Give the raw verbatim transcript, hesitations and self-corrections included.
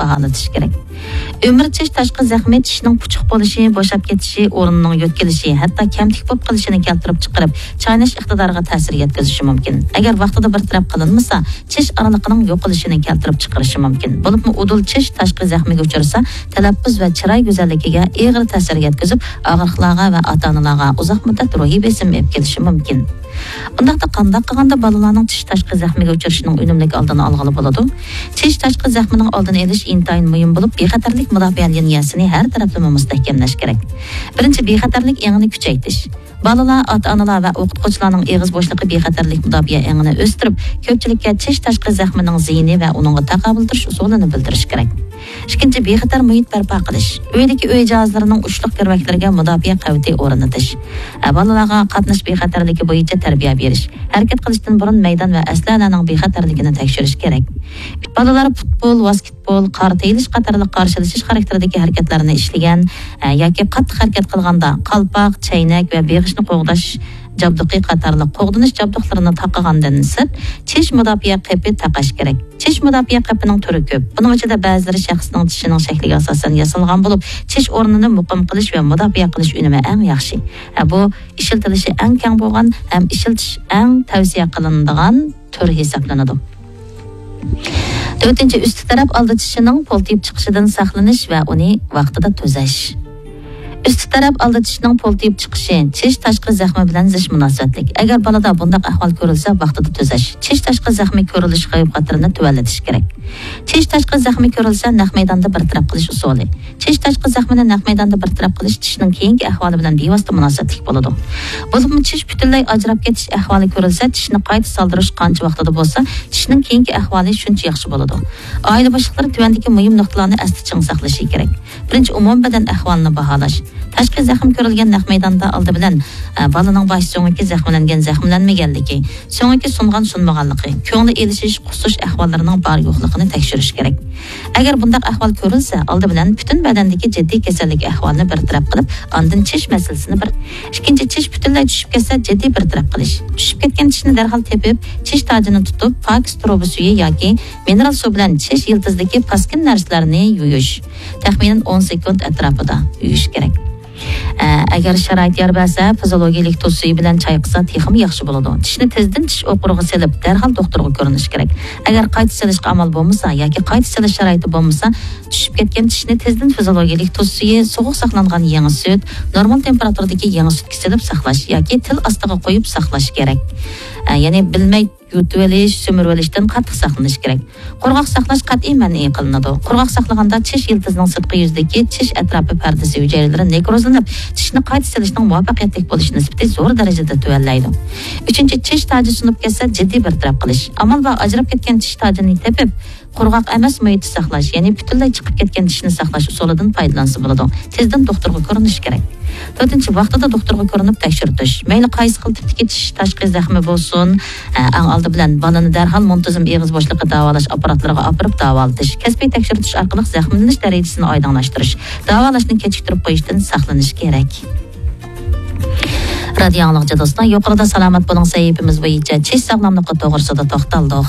باھالىتىش كېرەك. ئۆمۈر چىش تاشقى زەخمى چىشنىڭ پۇچۇق بولۇشى، بوشاپ كېتىشى، ئورنىنىڭ يۆتكىلىشى، ھەتتا كەمتۈك بولۇپ قېلىشىنى كەلتۈرۈپ چىقىرىپ، چايناش ئىقتىدارىغا تەسىر يەتكۈزۈشى مۇمكىن. ئەگەر ۋاقتىدا بىر تەرەپ قىلىنمىسا، چىش ئارىلىقىنىڭ يوقىلىشىنى كەلتۈرۈپ چىقىرىشى مۇمكىن. بولۇپمۇ ئۇدۇل چىش تاشقى زەخمىگە ئۇچرىسا، تەلەپپۇز ۋە چىراي گۈزەللىكىگە ئېغىر تەسىر يەتكۈزۈپ، ئاغرىقلارغا ۋە ئاتا-ئانىلارغا ئۇزاق مۇددەت روھىي بېسىم ئېلىپ كېلىشى مۇمكىن. ئۇنداقتا قانداق قىلغاندا بالىلارنىڭ چىش تاشقى زەخمىگە ئۇچرىشىنىڭ ئۈنۈملۈك ئالدىنى ئالغىلى بولىدۇ؟ چىش تاشقى زەخمىنىڭ ئالدىنى ئېلىش ئىنتايىن مۇھىم بولۇپ، بىخەتەرلىك مۇداپىئە لىنىيەسىنى ھەر تەرەپلىمە مۇستەھكەملەش كېرەك. بىرىنچى، بىخەتەرلىك ئېڭىنى كۈچەيتىش. بالىلار، ئاتا-ئانىلار ۋە ئوقۇتقۇچىلارنىڭ ئېغىز بوشلۇقى بىخەتەرلىك مۇداپىئە ئېڭىنى ئۆستۈرۈپ، كۆپچىلىككە چىش تاشقى زەخمىنىڭ زىيىنى ۋە ئۇنىڭغا تاقابىل تۇرۇش ئۇسۇلىنى بىلدۈرۈش كېرەك. ئىككىنچى، بىخەتەر مۇھىت بەرپا قىلىش. ئۆيدىكى ئۆي جاھازلىرىنىڭ ئۇچلۇق كىرۋەكلىرىگە مۇداپىئە قەۋىتى ئورنىتىش. ئە، بالىلارغا قاتناش بىخەتەرلىكى بويىچە تەربىيە بېرىش. ھەرىكەت قىلىشتىن بۇرۇن مەيدان ۋە ئەسلىھەلەرنىڭ بىخەتەرلىكىنى تەكشۈرۈش كېرەك. بالىلار پۇتبول، ۋاسكېتبول، قارا تېيىلىش قاتارلىق قارشىلىشىش خاراكتېرىدىكى ھەرىكەتلەرنى ئىشلىگەن، ئە، ياكى قاتتىق ھەرىكەت قىلغاندا قالپاق، چەينەك ۋە بېغىشنى قوغداش جابدۇقى قاتارلىق قوغدىنىش جابدۇقلىرىنى تاقىغاندىن سىرت، چىش مۇداپىئە قېپى تاقاش كېرەك. چىش مۇداپىئە قېپىنىڭ تۈرى كۆپ. بۇنىڭ ئىچىدە بەزىلىرى شەخسنىڭ چىشىنىڭ شەكلىگە ئاساسەن ياسالغان بولۇپ، چىش ئورنىنى مۇقىم قىلىش ۋە مۇداپىئە قىلىش ئۈنۈمى ئەڭ ياخشى. ئە، بۇ ئىشلىتىلىشى ئەڭ كەڭ بولغان ھەم ئىشلىتىش ئەڭ تەۋسىيە قىلىنىدىغان تۈر ھېسابلىنىدۇ. تۆتىنچى، ئۈستى تەرەپ ئالدى چىشىنىڭ پولتىيىپ چىقىشىدىن ساقلىنىش ۋە ئۇنى ۋاقتىدا تۈزەش. ئۈستى تەرەپ ئالدى چىشىنىڭ پولتىيىپ چىقىشى چىش تاشقى زەخمى بىلەن زىچ مۇناسىۋەتلىك. ئەگەر بالىدا بۇنداق ئەھۋال كۆرۈلسە، ۋاقتىدا تۈزەش، چىش تاشقى زەخمى كۆرۈلۈش خەۋپ خەتىرىنى تۆۋەنلىتىش كېرەك. چىش تاشقى زەخمى كۆرۈلسە، نەق مەيداندا بىر تەرەپ قىلىش ئۇسۇلى. چىش تاشقى زەخمىنى نەق مەيداندا بىر تەرەپ قىلىش چىشنىڭ كېيىنكى ئەھۋالى بىلەن بىۋاسىتە مۇناسىۋەتلىك بولىدۇ. بولۇپمۇ چىش پۈتۈنلەي ئاجراپ كېتىش ئەھۋالى كۆرۈلسە، چىشنى قايتا سالدۇرۇش قانچە ۋاقتىدا بولسا، چىشنىڭ كېيىنكى ئەھۋالى شۇنچە ياخشى بولىدۇ. ئائىلە باشلىقلىرى تۆۋەندىكى مۇھىم نۇقتىلارنى ئەستە چىڭ ساقلىشى كېرەك. بىرىنچى، ئومۇمىي بەدەن ئەھۋالىنى باھالاش. تاشقى زەخىم كۆرۈلگەن نەق مەيداندا ئالدى بىلەن، ئە، بالىنىڭ باش سۆڭىكى زەخىملەنگەن، زەخىملەنمىگەنلىكى، سۆڭىكى سۇنغان، سۇنمىغانلىقى، كۆڭلى ئېلىشىش، قۇسۇش ئەھۋاللىرىنىڭ بار يوقلۇقىنى تەكشۈرۈش كېرەك. ئەگەر بۇنداق ئەھۋال كۆرۈلسە، ئالدى بىلەن پۈتۈن بەدەندىكى جىددىي كېسەللىك ئەھۋالىنى بىر تەرەپ قىلىپ، ئاندىن چىش مەسىلىسىنى بىر. ئىككىنچى، چىش پۈتۈنلەي چۈشۈپ كەتسە، جىددىي بىر تەرەپ قىلىش. چۈشۈپ كەتكەن چىشنى دەرھال تېپىپ، چىش تاجىنى تۇتۇپ، پاكىز تۇرۇبا سۈيى ياكى مىنېرال سۇ بىلەن چىش يىلتىزىدىكى پاسكىنا نەرسىلەرنى يۇيۇش. تەخمىنەن ئون سېكۇنت ئەتراپىدا يۇيۇش كېرەك. ئە، ئەگەر شارائىت يار بەرسە، فىزىولوگىيىلىك تۇز سۈيى بىلەن چايقىسا تېخىمۇ ياخشى بولىدۇ. چىشنى تېزدىن چىش ئوقۇرىغا سېلىپ، دەرھال دوختۇرغا كۆرۈنۈش كېرەك. ئەگەر قايتا سېلىشقا ئامال بولمىسا ياكى قايتا سېلىش شارائىتى بولمىسا، چۈشۈپ كەتكەن چىشنى تېزدىن فىزىولوگىيىلىك تۇز سۈيى، سوغۇق ساقلانغان يېڭى سۈت، نورمال تېمپېراتۇرىدىكى يېڭى سۈتكە سېلىپ ساقلاش ياكى تىل ئاستىغا قويۇپ ساقلاش كېرەك. ئە، يەنى بىلمەي يۇتۇۋېلىش، سۈمۈرۈۋېلىشتىن قاتتىق ساقلىنىش كېرەك. قۇرغاق ساقلاش قەتئىي مەنئى قىلىنىدۇ. قۇرغاق ساقلىغاندا چىش يىلتىزىنىڭ سىرتقى يۈزىدىكى چىش ئەتراپى پەردىسى ھۈجەيرىلىرى نېكروزلىنىپ، چىشنى قايتا سېلىشنىڭ مۇۋەپپەقىيەتلىك بولۇش نىسبىتى زور دەرىجىدە تۆۋەنلەيدۇ. ئۈچىنچى، چىش تاجى سۇنۇپ كەتسە، جىددىي بىر تەرەپ قىلىش. ئامال بار ئاجراپ كەتكەن چىش تاجىنى تېپىپ، قۇرغاق ئەمەس مۇھىتتا ساقلاش، يەنى پۈتۈنلەي چىقىپ كەتكەن چىشنى ساقلاش ئۇسۇلىدىن پايدىلانسا بولىدۇ. تېزدىن دوختۇرغا كۆرۈنۈش كېرەك. تۆتىنچى، ۋاقتىدا دوختۇرغا كۆرۈنۈپ تەكشۈرتۈش. مەيلى قايسى خىل تىپتىكى چىش تاشقى زەخمى بولسۇن، ئە، ئەڭ ئالدى بىلەن بالىنى دەرھال مۇنتىزىم ئېغىز بوشلۇقى داۋالاش ئاپپاراتلىرىغا ئاپىرىپ داۋالىتىش، كەسپىي تەكشۈرتۈش ئارقىلىق زەخىملىنىش دەرىجىسىنى ئايدىڭلاشتۇرۇش، داۋالاشنى كېچىكتۈرۈپ قويۇشتىن ساقلىنىش كېرەك. رادىيو ئاڭلىغۇچى دوستلار، يۇقىرىدا سالامەت بولۇڭ سەھىپىمىز بويىچە چىش ساغلاملىقى توغرىسىدا توختالدۇق.